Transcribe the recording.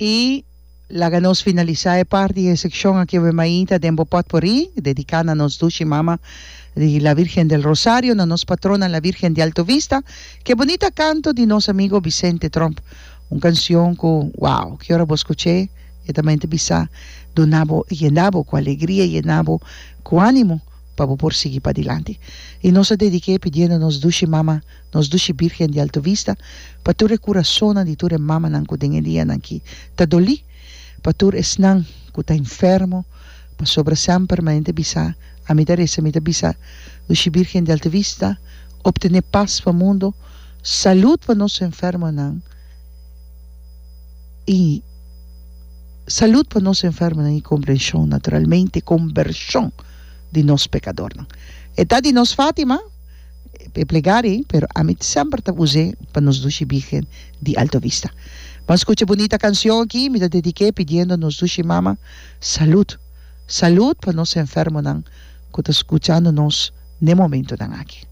I laga nos finalisá e parti di e sekshon aki awe mainta den bo pòtpòrí dediká na nos dushi mama di La Virgen del Rosario, na nos patrona La Virgen di Alto Vista, ku e bunita kanto di nos amigo Vicente Tromp. Un kansion ku, wow, ki ora bo skuch'é e ta mente bisa duna bo, yena bo ku alegria, yena bo ku ánimo pa bo por sigui padilanti. I nos a dedik'é pidiendo nos dushi mama Nos dushi Birgen di Alto Vista, pa tur e kurasonnan di tur e mamanan ku den e dianan aki ta dolí, pa tur esnan ku ta enfermo, pasobra semper manera ta bisa, ami ta resa, mi ta bisa, Dushi Birgen di Alto Vista, optené pas pa mundu, salud pa nos enfermonan i salud pa nos enfermonan i komprenshon, naturalmente kombershon di nos pekadornan. E ta di nos Fatima. E plegaria ei, pero ami semper ta us'é pa nos dushi Birgen di Alto Vista. Ban skucha e bunita kanshon aki, mi ta dedik'é pidiendo nos dushi mama salud, salud pa nos enfermonan ku ta skuchando nos n'e momentonan aki.